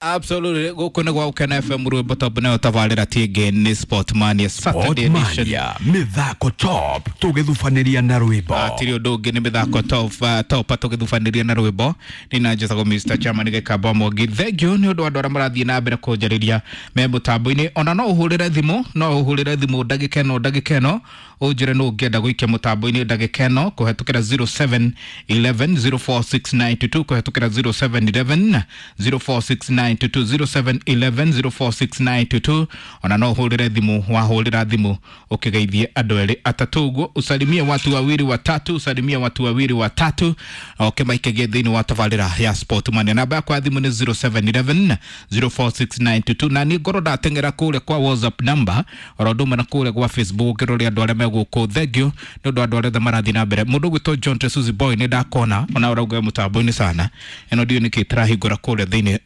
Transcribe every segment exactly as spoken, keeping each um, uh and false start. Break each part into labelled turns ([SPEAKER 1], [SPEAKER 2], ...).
[SPEAKER 1] Absolutely, gũkũ nĩ gwa Gũkena F M rwĩmbo top nayo tabarĩra ti ĩngĩ nĩ Sport Mania Saturday edition.
[SPEAKER 2] Mania mĩthako top tũgĩthubanĩria na rwĩmbo.
[SPEAKER 1] Hatirĩ ũndũ ũngĩ nĩ mĩthako top, uh, top tũgĩthubanĩria na rwĩmbo. Nĩ na njĩtagwo Mister Chairman Gĩkamba Mwangi. Thank you nĩ ũndũ wa andũ arĩa marathiĩ na mbere kũnjarĩria me mũtambo-inĩ. Ona no ũhũrĩre thimũ, no ũhũrĩre thimũ ndagĩka ĩno ndagĩka ĩno ũnjĩre nũ ũngĩenda gũikia mũtambo-inĩ ndagĩka ĩno kũhetũkĩra zero seven eleven zero four six nine two two, kũhetũkĩra zero seven eleven zero four six nine two two, zero seven eleven zero four six nine two two. Ona no ũhũrĩre thimũ, wahũrĩra thimũ ũkĩgeithie andũ erĩ atatũ ũguo, usalimie watu wawili watatu, usalimie watu wawili watatu ũkĩmaikagie thĩinĩ wa tabarĩra ya Sport Mania. Namba yakwa ya thimũ nĩ zero seven eleven zero four six nine two two, na niĩ ngorwo ndateng'era kũrĩa kwa WhatsApp number oro ũndũ ũmwe na kũrĩa gwa Facebook ngĩrore andũ arĩa me gũkũ. Thank you nĩ ũndũ wa andũ arĩa othe marathiĩ na mbere. Mũndũ ũgwĩtwo John Tesuzi Boy nĩ ndakona ona ũrauga e mũtambo-inĩ sana, ĩno ndiũĩ nĩkĩ tũrahingũra kũrĩa thĩinĩ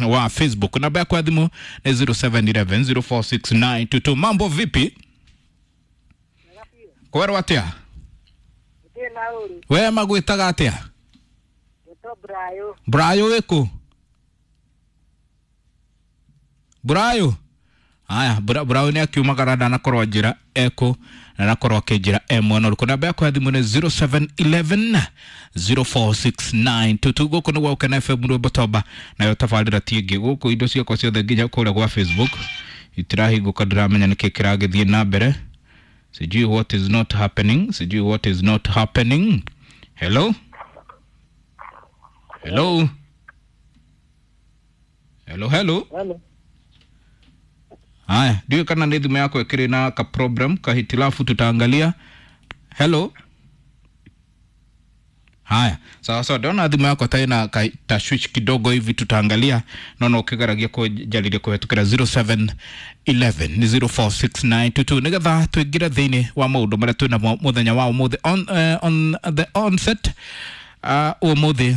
[SPEAKER 1] wa Facebook. Namba yakwa ya thimũ nĩ zero seven eleven zero four six nine two two. Mambo vipi? Kwerwo atĩa? We magwĩtaga atĩa? Brayo wĩkũ? Brayo? Aya, Brayo nĩ akiumagara ndanakorwo njĩra ekũ na anakorwo akĩnjĩra e mwena ũrĩkũ. Namba yakwa ya thimũ nĩ zero seven eleven zero four six nine two two. Gũkũ nĩ gwa Gũkena F M rwĩmbo toba nayo tabarĩra ti ĩngĩ. Gũkũ indo ciakwa ciothe nginya kũrĩa gwa Facebook itirahingũka, ndiramenya nĩkĩ kĩragĩthiĩ na mbere. Sijui what is not happening, sijui what is not happening. Hello? Hello? Hello, hello?
[SPEAKER 3] Hello.
[SPEAKER 1] Haya, ndiyo kana nĩ thimũ yako ĩkĩrĩ na ka problem ka hitilafu, tutaangalia. Hello? Haya, sawa sawa, ndona thimũ yako ta ina ka tashwish kidogo hivi, tutaangalia. Naona ukigaragia kũnjarĩria kũhetũkĩra zero seven eleven zero four six nine two two nĩgetha tũingĩre thĩinĩ wa maũndũ marĩa twĩnamo mũthenya wa ũmũthĩ. On, uh, on the onset, uh, ũmũthĩ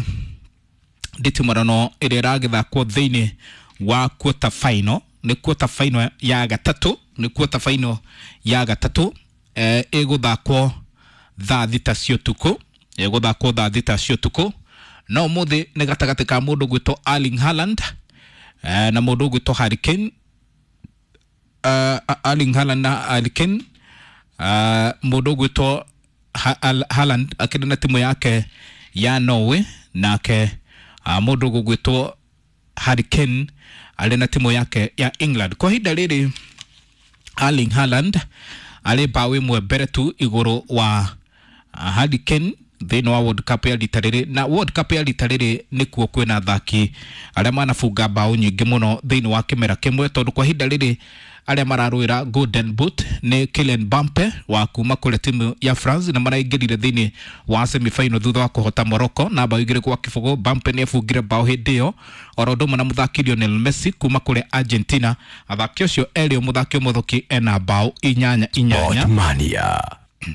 [SPEAKER 1] nditimũrano ĩrĩa ĩragĩthakwo thĩinĩ wa quarter final, nĩ quarter final ya gatatũ, nĩ quarter final ya gatatũ, eh, ĩgũthakwo thaa thita cia ũtukũ, ĩgũthakwo thaa thita cia ũtukũ. No ũmũthĩ nĩ gatagatĩ ka mũndũ ũgwĩtwo Erling Haaland, eh, na mũndũ ũgwĩtwo Harry Kane. Uh, Erling Haaland na Harry Kane. Uh, mũndũ ũgwĩtwo Haaland akĩrĩ na timu yake ya Norway, nake uh, mũndũ ũgwĩtwo Harry Kane arĩ na timu yake ya England. Kwa ihinda rĩrĩ Erling Haaland arĩ mbaũ ĩmwe mbere tu igũrũ wa Harry Kane thĩinĩ wa World Cup ya rita rĩrĩ, na World Cup ya rita rĩrĩ nĩkuo kwĩna athaki arĩa manabunga mbaũ nyingĩ mũno thĩinĩ wa kĩmera kĩmwe, tondũ kwa ihinda rĩrĩ arĩa mararũĩra Golden Boot nĩ Kylian Mbappe wa kuma kũrĩa timu ya France, na maraingĩrire thĩinĩ wa semi-final thutha wa kũhota Morocco na mbaũ igĩrĩ kwa kĩbũgũ. Mbappe nĩ abungire mbaũ hĩndĩ ĩyo, oro ũndũ ũmwe na mũthaki Lionel Messi kuma kũrĩa Argentina. Athaki acio erĩ, mũthaki ũmũthũki ena mbaũ inyanya inyanya.
[SPEAKER 2] Sport Mania.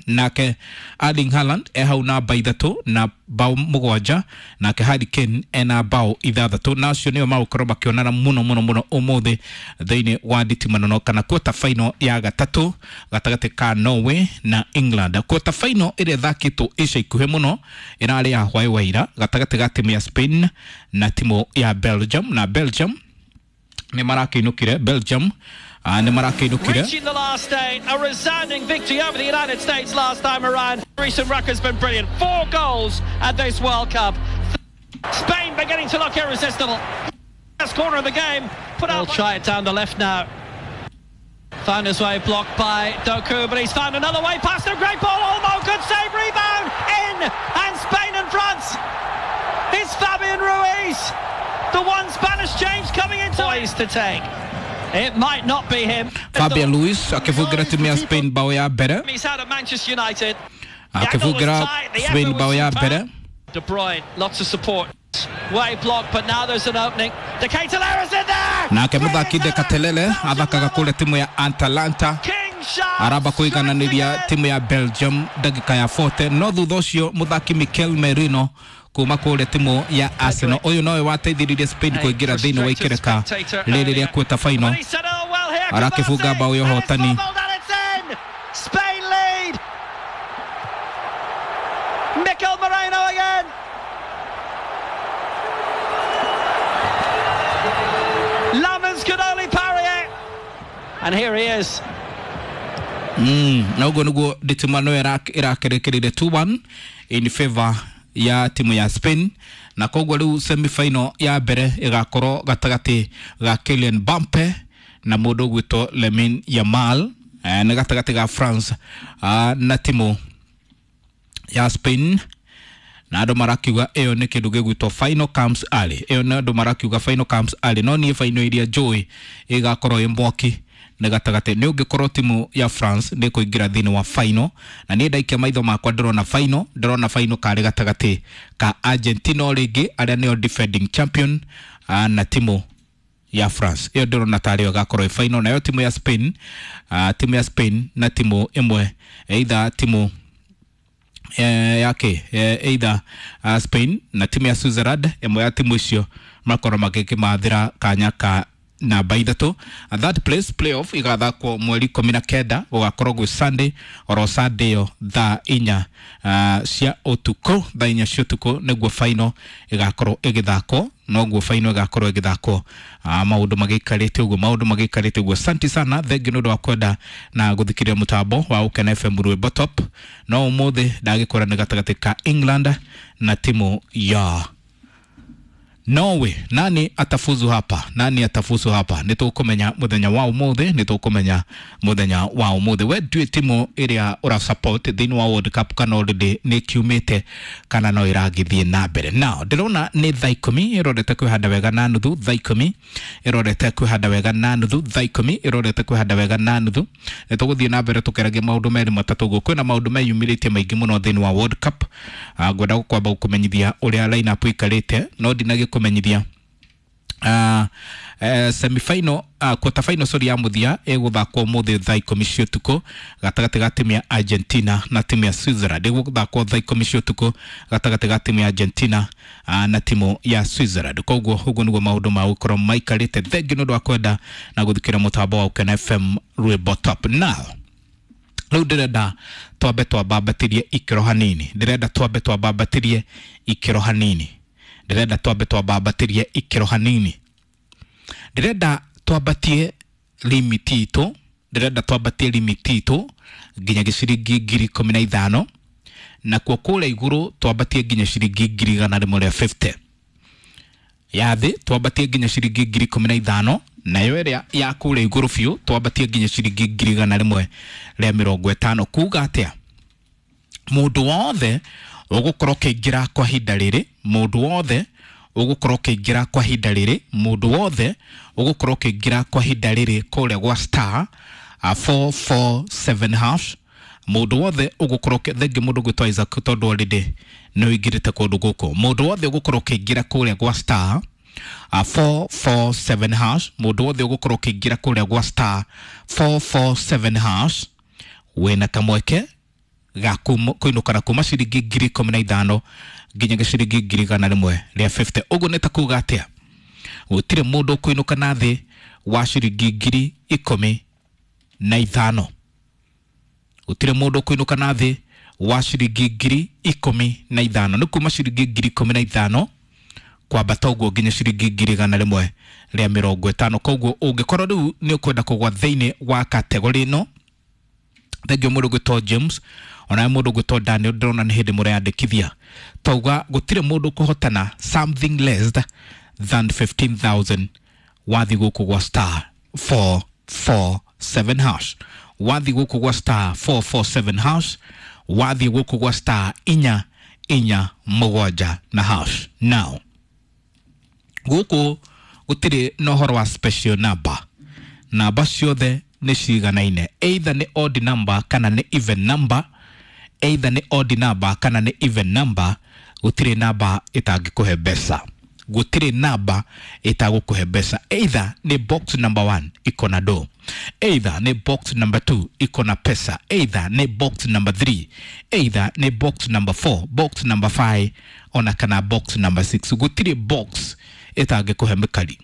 [SPEAKER 1] Nake Erling Haaland e hau namba ithatũ na mbaũ mũgwanja, nake Harry Kane ena mbaũ ithathatũ, na acio nĩo magũkorwo makĩonana mũno mũno mũno ũmũthĩ thĩinĩ wa nditimũrano kana quarter final ya gatatũ gatagatĩ ka Norway na England. Quarter final ĩrĩa ĩthakĩtwo ica ikuhĩ mũno ĩrarĩ ya hwaĩ wa ira gatagatĩ ga timu ya Spain na timu ya Belgium, na Belgium nĩ marakĩinũkire, Belgium uh, nĩ marakĩinũkire.
[SPEAKER 4] Reaching the last eight, a resounding victory over the United States last time around. Recent record's been brilliant. Four goals at this World Cup. Spain beginning to look irresistible. Last corner of the game. Put out. They'll try it down the left now. Found his way blocked by Doku, but he's found another way past him. Great ball, Olmo, good save, rebound, in, and Spain in front. It's Fabian Ruiz. The one Spanish change coming into poise to take. It might not be him.
[SPEAKER 1] Fabian Ruiz akĩbungĩra timu ya Spain bao ya mbere.
[SPEAKER 4] He's out of Manchester United.
[SPEAKER 1] Akĩbungĩra Spain bao ya mbere.
[SPEAKER 4] De Bruyne, lots of support. Way blocked, but now there's an opening. De Ketelaere's in there.
[SPEAKER 1] Nake mũthaki De Ketelaere athakaga kũrĩa timu ya Atalanta, aramba kũigananĩria timu ya Belgium ndagĩka ya forty. No thutha ũcio mũthaki Mikel Merino kuma kũrĩa timu ya Arsenal, ũyũ nowe wateithĩrĩirie Spain kũingĩra thĩinĩ wa ikereka rĩrĩ rĩa quarter final, arakĩbunga mbaũ ya ũhotani.
[SPEAKER 4] Spain lead. Mikel Merino again. And here he is.
[SPEAKER 1] Mm, na ũguo nĩguo nditimano ĩrakerekereire two one in favor ya timu ya Spain, na koguo rĩu semifinal ya mbere ĩgakorwo gatagatĩ ga Kylian Mbappe na mũndũ ũgwĩtwo Lamine Yamal, eh, nĩ gatagatĩ ga France ah, na timu ya Spain. Na andũ marakiuga ĩyo nĩ kĩndũ gĩgwĩtwo final comes early. Ĩyo nĩ andũ marakiuga final comes early, no niĩ final iria njũĩ ĩgakorwo ĩ mwaki nĩ gatagatĩ nĩ ũngĩkorwo timu ya France nĩ kũingĩra thĩinĩ wa final, na niĩ ndaikia maitho makwa ndĩrona final, ndĩrona final karĩ gatagatĩ ka Argentina o rĩngĩ arĩa nĩo defending champion ah, na timu ya France. Ĩyo ndĩrona tarĩ yo ĩgakorwo ĩ final, nayo timu ya Spain, ah, timu ya Spain na timu ĩmwe either timu eh, yake eh, either uh, Spain na timu ya Switzerland, ĩmwe ya timu icio makorwo magĩkĩmathĩra kanya ka namba ithatũ. Third place playoff igathakwo mweri ikũmi na kenda, gũgakorwo gwĩ Sunday, oro Sunday ĩyo thaa inya uh, cia ũtukũ, thaa inya cia ũtukũ nĩguo final ĩgakorwo ĩgĩthakwo, noguo final ĩgakorwo ĩgĩthakwo uh, maũndũ magĩikarĩte ũguo, maũndũ magĩikarĩte ũguo. Asante sana, thengi nĩ ũndũ wa kwenda na gũthikĩrĩria mũtambo wa Ũkena F M Rwĩmbo Top. No ũmũthĩ ndagĩkora nĩ gatagatĩ ka England na timu ya Norway. Nani atafuzu hapa? Nani atafuzu hapa? Nĩtũkũmenya mũthenya wa ũmũthĩ, nĩtũkũmenya mũthenya wa ũmũthĩ. We ndũĩ timu ĩrĩa ũra support thĩinĩ wa World Cup kana already nĩ kiumĩte kana no ĩragĩthiĩ na mbere. Now ndĩrona nĩ thaa ikũmi ĩrorete kwĩhanda wega na nuthu, thaa ikũmi ĩrorete kwĩhanda wega na nuthu, thaa ikũmi ĩrorete kwĩhanda wega na nuthu. Nĩtũgũthiĩ na mbere tũkĩaragia maũndũ merĩ matatũ ũguo. Kwĩna maũndũ meyumĩrĩtie maingĩ mũno thĩinĩ wa World Cup. Ah, ngwenda kwamba gũkũmenyithia ũrĩa line up ĩikarĩte, no ndinagĩkũmenyithia Uh, uh, semifinal, uh, quarter final sorry ya mũthia ĩgũthakwo ũmũthĩ thaa ikũmi cia ũtukũ gatagatĩ ga timu ya Argentina na timu ya Switzerland. Ĩgũthakwo thaa ikũmi cia ũtukũ gatagatĩ ga timu ya Argentina uh, na timu ya Switzerland. Koguo ũguo nĩguo maũndũ ma gũkorwo maikarĩte. Thengi nĩ ũndũ wa kwenda na gũthikĩra mũtambo wa Ũkena F M Rwĩmbo Top. Now rĩu ndĩrenda twambe twambambatĩrie ikĩro hanini, ndĩrenda twambe twambambatĩrie ikĩro hanini, ndĩrenda twambe twambambatĩrie ikĩro hanini, ndĩrenda twambatie limit itũ, ndĩrenda twambatie limit itũ nginya gĩciringi ngiri ikũmi na ithano, nakuo kũrĩa igũrũ twambatie nginya ciringi ngiri igana rĩmwe rĩa fifty. Ya thĩ twambatie nginya ciringi ngiri ikũmi na ithano, nayo ĩrĩa ya kũrĩa igũrũ biũ twambatie nginya ciringi ngiri igana rĩmwe rĩa mĩrongo ĩtano. Kuga atĩa? Mũndũ wothe ũgũkorwo ũkĩingĩra kwa ihinda rĩrĩ, mũndũ wothe ũgũkorwo ũkĩingĩra kwa ihinda rĩrĩ, mũndũ wothe ũgũkorwo ũkĩingĩra kwa ihinda rĩrĩ kũrĩa gwa star four four seven hash, mũndũ wothe ũgũkorwo thengi mũndũ ũgwĩtwo Isaac tondũ already nĩ ũingĩrĩte kũndũ gũkũ, mũndũ wothe ũgũkorwo ũkĩingĩra kũrĩa gwa star four four seven hash, mũndũ wothe ũgũkorwo ũkĩingĩra kũrĩa gwa star four four seven hash wĩna kamweke ga kũinũka na kuma ciringi ngiri ikũmi na ithano nginya ciringi ngiri igana rĩmwe rĩa fifty. Ũguo nĩ ta kuga atĩa? Gũtirĩ mũndũ ũkũinũka na thĩ wa ciringi ngiri ikũmi na ithano, gũtirĩ mũndũ ũkũinũka na thĩ wa ciringi ngiri ikũmi na ithano. Nĩ kuma ciringi ngiri ikũmi na ithano kwambata ũguo nginya ciringi ngiri igana rĩmwe rĩa mĩrongo ĩtano. Koguo ũngĩkorwo rĩu nĩ ũkwenda kũgwa thĩinĩ wa kategori ĩno, thengio mũndũ ũgwĩtwo James ona mũndũ ũgwĩtwo Daniel, ndĩrona nĩ hĩndĩ mũreyandĩkithia. Tauga gũtirĩ mũndũ ũkũhotana something less than fifteen thousand wathi gũkũ gwa star four four seven hash, wathi gũkũ gwa star four four seven hash, wathi gũkũ gwa star inya inya mũgwanja na hash. Now gũkũ gũtirĩ na ũhoro wa special number, namba ciothe nĩ ciganaine, either nĩ odd number kana nĩ even number, either nĩ odd number kana nĩ even number. Gũtirĩ namba ĩtangĩkũhe mbeca, gũtirĩ namba ĩtagũkũhe mbeca. Either nĩ box number one iko na do, either nĩ box number two iko na pesa, either nĩ box number three, either nĩ box number four, box number five ona kana box number six. Gũtirĩ box ĩtangĩkũhe mĩkari.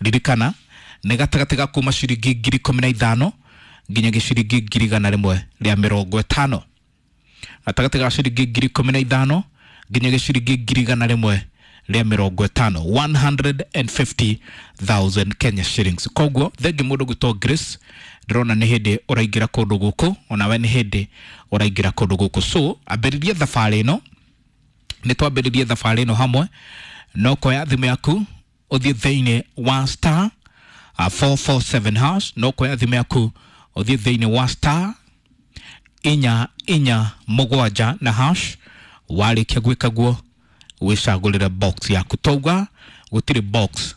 [SPEAKER 1] Ririkana nĩ gatagatĩ ga kuma ciringi ngiri ikũmi na ithano nginya gĩciringi ngiri igana rĩmwe rĩa mĩrongo ĩtano, gatagatĩ ga ciringi ngiri ikũmi na ithano nginya gĩciringi ngiri igana rĩmwe rĩa mĩrongo ĩtano, one hundred and fifty thousand Kenya shillings. Koguo thengi mũndũ gwĩtwo Grace Ndĩrona nĩ hĩndĩ ũraingĩra kũndũ gũkũ, onawe nĩ hĩndĩ ũraingĩra kũndũ gũkũ, so ambĩrĩria thabarĩ ĩno, nĩ twambĩrĩrie thabarĩ ĩno hamwe. No koya thimũ yaku ũthiĩ thĩinĩ wa star uh, four four seven hash. No koya thimũ yaku ũthiĩ thĩinĩ wa star inya inya mũgwanja na hash. Warĩkia gwĩka guo, wĩcagũrĩre box yaku. Twauga gũtirĩ box